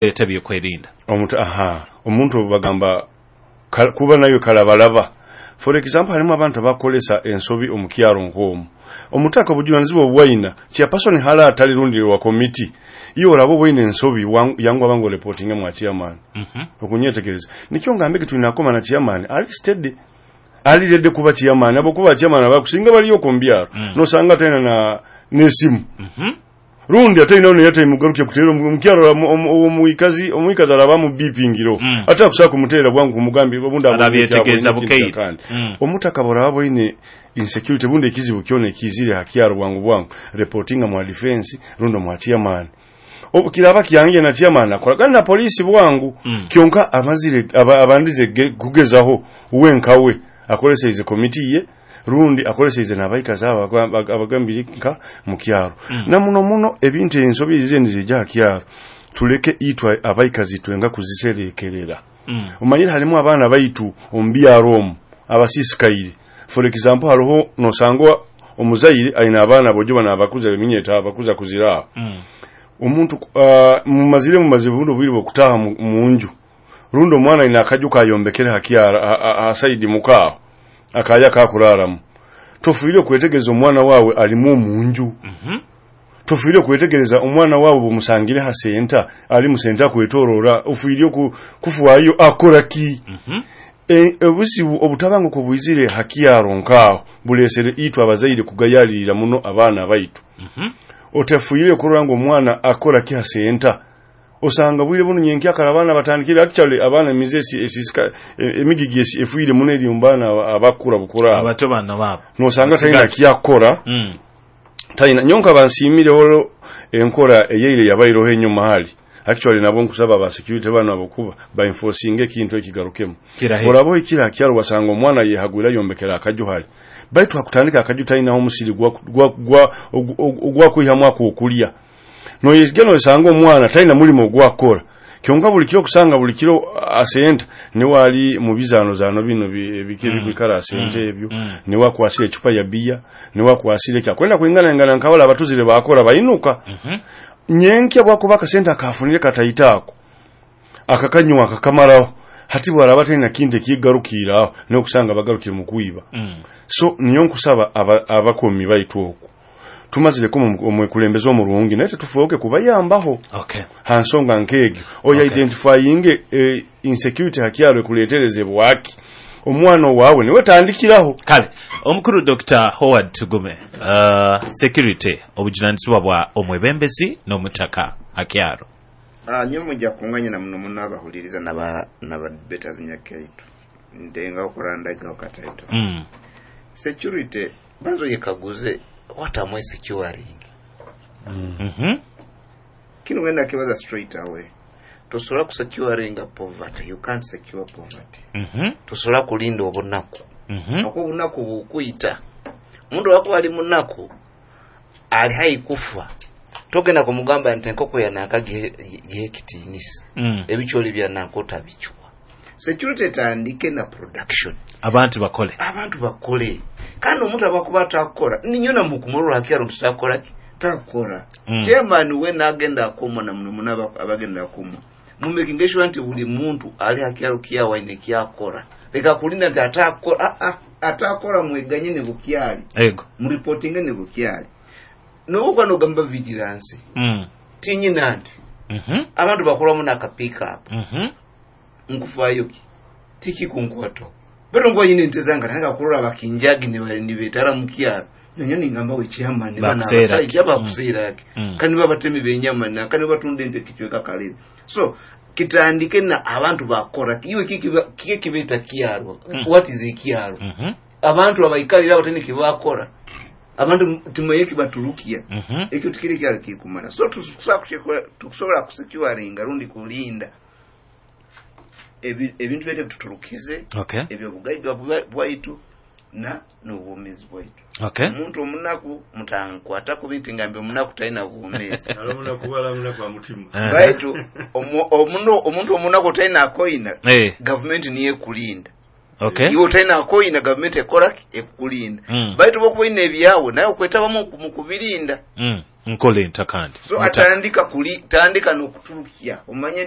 Leta ebyokwerinda. Omuntu, aha, omuntu bagamba kuba nayo kalabalaba. For example, harimu abantu abakolesa ensobi omukyaro nk'omu omutaka obujunanizibwa obwaina chairperson hala atali rundi wa committee iyo oraba obwaine ensobi yangu abango reporting mwa chairman. Okunyetegereza nikyo ngambe tulina koma na chairman ali steady, ali ready kuba chairman, abo kuba chairman abakusinga baliyo kumbyaro. Nosanga tena na nesimu. Rundi ate ino yate mugaruke kutero mukyaro omuikazi omuikazi araba mu bipingiro. Ate akusaka kumutera bwangu kumugambi bunda. Arabyetegereza bukeire. Omutaka boraba boine insecurity bunde ekizibu kyone kizire hakyaro, bwangu bwangu reportinga mwa defense rundo mwa chairman. Obukiraba kyange na chairman akoragana na polisi bwangu. Kyonka amazire abandize kugezaho wenkawe akolesa ize committee ye rundi akolesa ize nabaikazi aba abagambire nka mukyaro. Na muno muno ebintu ensobi ize nizija kyaro, tuleke itwa abaikazi twenga kuziserekerera. Omanyire halimu abaana baitu omubyaro omu abasisikaire. For example, hariho nosangwa omuzaire aina abaana bojo n'abakuza eminyeta abakuza kuzira. Omuntu mumazire mumaze buno bwire bwokutaha mu nju rundi omwana aina akaju kayombekere hakyara asaidi mukaaho akaya kakuraramu, tofiire kwetegereza omwana wawe alimu omunju. Tofiire kwetegereza omwana wawe bumusangire ha senta ali mu senta kwetorora, ofiire kufuayo akora ki. Obuzibu obutabanguko bwizire hakyaro nkaho bulesere itwe abazaire kugayalirira muno abaana baitu. Otafuire kurora ngo omwana akora ki ha senta, osanga bwire buno nyenkya akara abaana batandikire. Actually, abaana emizesi esisika emigigi efuire muno eri mu baana abakura bukura. Abato bano babo. Nosanga talina Basigazi. kyakora. Talina nyonka bansiimire olwo enkora eyeire yabaireho enyuma hali. Actually, nabo nkusaba ba security bano abokuba ba enforcing ekintu ekigarukemu. Kirahe. Oraba oikira hakyaro wasanga omwana yehagwira yombekera akaju hali, baitu hakutandika akaju talinaho omusiri ogwakwihamu akokulya. Noyega nosanga omwana talina mulimo ogwakora, kyonka buli kiro kusanga buli kiro asenta niwe ali mu bizano zano bino ebiki ebikwikara asente ebyo. Niwe akwasire ecupa ya biya, niwe akwasire kyakwenda kwingana ingana nkabala abatuzire bakora bainuka. Nyenkya bwakuba akasente akafunire kataitaako akakanywa akakamaraho, hati bwaraba talina kintu ekigarukira aho nokusanga bagarukire mu kwiba. So niyo nkusaba abakomi baitu okwo tumazireko omwekulembeze omurungi, naye tetufuuke kubayambaho. Ha nsonga nk'egyo oyo identifying insecurity hakyaro ekuletereze bwaki omwana wawe niwe tandikiraho. Kale omukuru Dr Howard Tugume, security obujunanizibwa bwa omwebembezi n'omutaka hakyaro? Nyowe mujja kunganya na muno muno abahuliriza naba debaters nyakaitu ndenga okurandaga kataito. Security banzo yekaguze, what am I securing? Kino ngenda kibaza straight away. Tosobola kusecuringa poverty, you can't secure poverty. Tosobola kulinda obunaku. Ako obunaku bukuyita omuntu wakuba ali munaku ali hai kufa, togenda kumugamba nti enkoko yanaka gihekitiinisa. Ebikyoli byanaka otabikywa. Security etandike na production. Abantu bakole. Abantu bakole, kandi omuntu abakuba atakora ninyo namukumurura hakyaro nti takoraki takora. Chairman we nagenda akoma na muno muno abagenda akoma mumakinge sure nti buli muntu ali hakyaro kyawe aine kyakora. Leka kulinda nti atakora. Ah, ah, atakora mweganye ne bukyali. Muripotinge ne bukyali nobukuba nogamba vigilance. Tinyina nti abantu bakolamu naka pick up. Nkufayo ki tikikunkwatako beto nkuba nyine ente zange nanga kurora bakinjagi nibetara mukyaro nanyo ningamba we chairman bana Bakuseera ki? abasajja bakuseera ki? Kandi babatemi benyama na kandi batunda ente kichweka kale. So kitandike na abantu bakora iwe kiki kibeta kyaro. What is ekyaro? Abantu abaikalira abatene kibakora, abantu tumaye kibaturukia. Ekyo tikiri kyalo kikumala. So tukusobola kusecuringa rundi kulinda ebintu byaitu tuturukize ebyobugaiga bwaitu na n'obwomeezi bwaitu. Omuntu omunaku mutankwata kubi nti ngambe omunaku talina bwomeezi. Baitu omuntu omunaku talina akoina. Gavumenti niyo ekulinda. Iwe otalina akoina, gavumenti ekoraki ekulinda. Baitu bwokuba oyina ebyawe naye okwetabamu mu kubirinda. Nkola entakandi. So atandika kuli tandika n'okuturukya omanye.